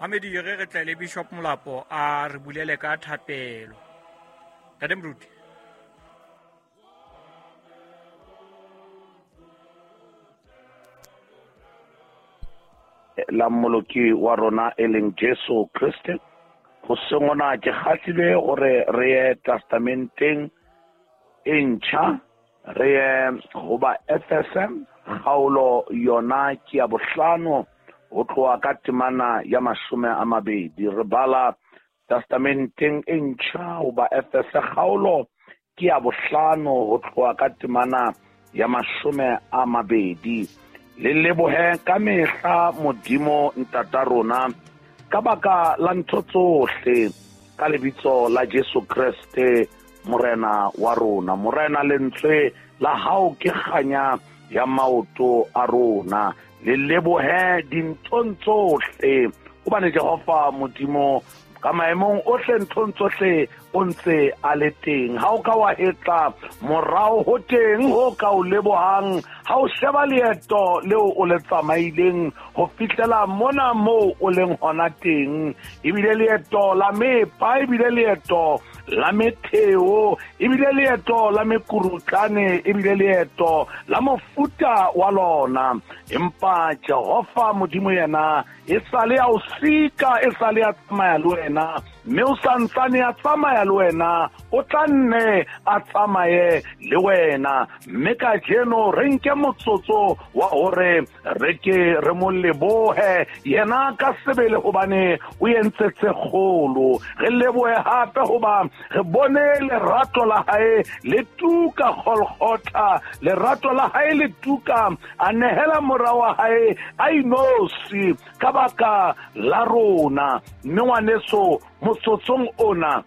Mamedi re re tle le Bishop Molapo a re bulele ka thapelo. Ntate Moruti. La Mmoloki wa rona e leng Jesu Kriste. Hoseng hona ke kgahlilwe hore re ye Testamenteng e ntjha, re ye ho ba Efese, kgaolo yona ke ya bohlano ho tloha ka temana ya 20. Re bala Testamenteng e ntjha ho ba Efese, kgaolo ke ya bohlano ho tloha ka temana ya 20. Le lebohe ka mehla Modimo Ntata rona ka baka la ntho tsohle, ka lebitso la Jesu Kreste Morena wa rona. Morena, lentswe la hao ke kganya ya maoto a rona. Le lebohe dinthong tsohle, hobane Jehova Modimo ka maemong ohle nthong tsohle o ntse a le teng. Ha o ka wa hetla morao ho teng ho ka o lebohang, ha o sheba leeto leo o le tsamaileng ho fihlela mona moo o leng hona teng, ebile leeto la mepa, ebile leeto la metheo, ebile leeto la mekurutlane, ebile leeto la mofuta wa lona. Empa Jehova Modimo yena e sale ya o sika, e sale ya tsamaya le wena, mme o santsane ya tsamaya le wena, o tla nne a tsamaye le wena. Mme kajeno re nke motsotso wa hore re ke re mo lebohe yena ka sebele, hobane o entse tse kgolo. Re lebohe hape hoba re bone lerato la hae le tuka Golgotha, lerato la hae le tuka, a nehela mora wa hae a inosi ka baka la rona. Mme ngwaneso, motsotsong ona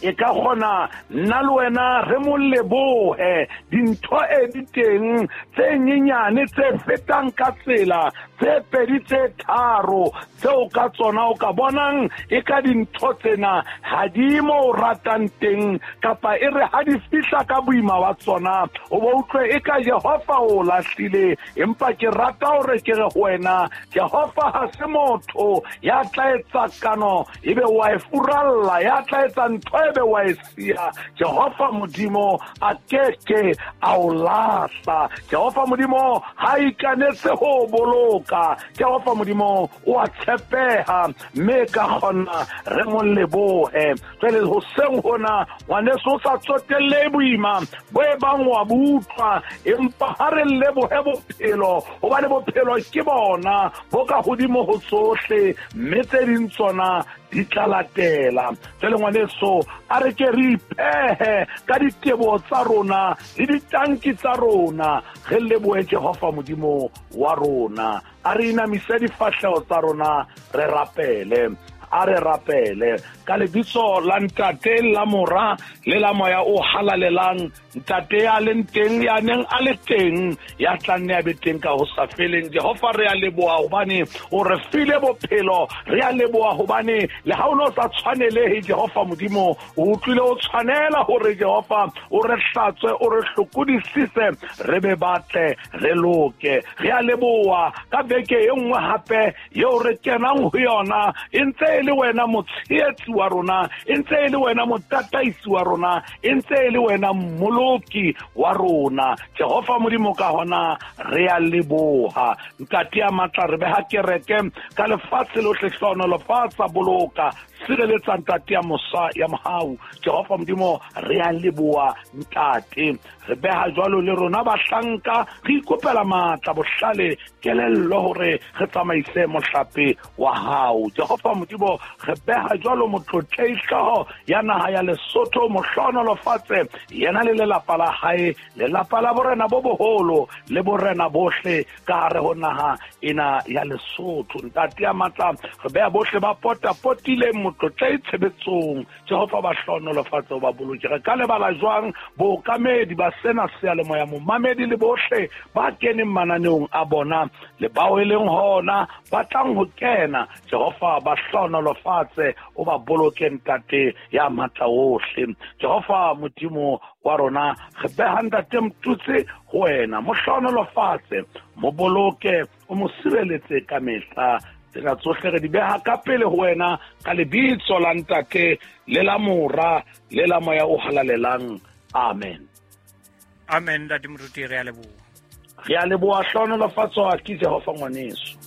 e ka kgona nna le wena re mo lebohe. Dintho e di teng tse nyenyane tse fetang ka tsela, tse pedi tse tharo, tseo ka tsona o ka bonang e ka dintho tsena ha di mo o ratang teng, kapa e re ha di fihla ka boima wa tsona o bo utlwe e ka Jehova o lahlile. Empa ke rata hore ke re ho wena, Jehova ha se motho ya tla etsa kano ebe wa e furalla, ya tla etsa ntho ebe wa e siya. Jehova Modimo a keke a o lahla. Jehova Modimo ha ikanetse ho boloka. Jehova Modimo o a tshepeha, mme ka kgona re mo lebohe. Jwale hoseng hona, ngwaneso, o sa tsotelle boima bo e bang wa bo utlwa, empa ha re lebohe bophelo, hobane bophelo ke bona bo ka hodimo ho tsohle, mme tse ding tsona di tla latela. Jwale ngwaneso, a re ke re ipehe ka diteboho tsa rona le ditanki tsa rona, re lebohe Jehova Modimo wa rona. A re inamise difahleho tsa rona, re rapele. A re rapele ka lebitso la Ntate, la Mora le la Moya o Halalelang. Ntate ya leng teng, ya neng a le teng, ya tla nne a be teng ka ho sa feleng. Jehova, re a leboha hobane o re file bophelo. Re a leboha hobane le ha o ne o sa tshwanelehe, Jehova Modimo, o utlwile o tshwanela hore Jehova o re hlatswe, o re hlokodisise, re be batle, re loke. Re a leboha ka beke e nngwe hape eo re kenang ho yona, e ntse e le wena motshehetsi wa rona, e ntse e le wena motataisi wa rona, e ntse e le wena mmoloki wa rona. Jehova Modimo, ka hona re a leboha. Ntate ya matla, re beha kereke ka lefatshe lohle, hlohonolofatsa, boloka, sireletsa Ntate ya mosa ya mohau. Jehova Modimo, re a leboha Ntate. Re beha jwalo le rona bahlanka, re ikopela matla, bohlale, kelello hore re tsamaise mohlape wa hao. Jehova Modimo, re beha jwalo motlotlehi hlooho ya naha ya Lesotho, mohlohonolofatse yena le lelapa la hae, lelapa la borena bo boholo le borena bohle ka hare ho naha ena ya Lesotho. Ntate ya matla, re beha bohle ba potapotileng motlotlehi tshebetsong. Jehova ba hlohonolofatse, o ba boloke. Re ka lebala jwang bookamedi ba sena seyalemoya, momamedi le bohle ba keneng mananeong a bona le bao e leng hona ba tlang ho kena. Jehova ba hlohonolofatse, o ba boloke Ntate ya matla ohle. Jehova Modimo wa rona, re beha Ntate Motutsi ho wena, mo hlohonolofatse, mo boloke, o mo sireletse ka mehla. Tsena tsohle re di beha ka pele ho wena ka lebitso la Ntate le la Mora le la Moya o Halalelang. Amen. Amen, Ntate Moruti, re a leboha. Re a leboha, hlohonolofatswa ke Jehova ngwaneso.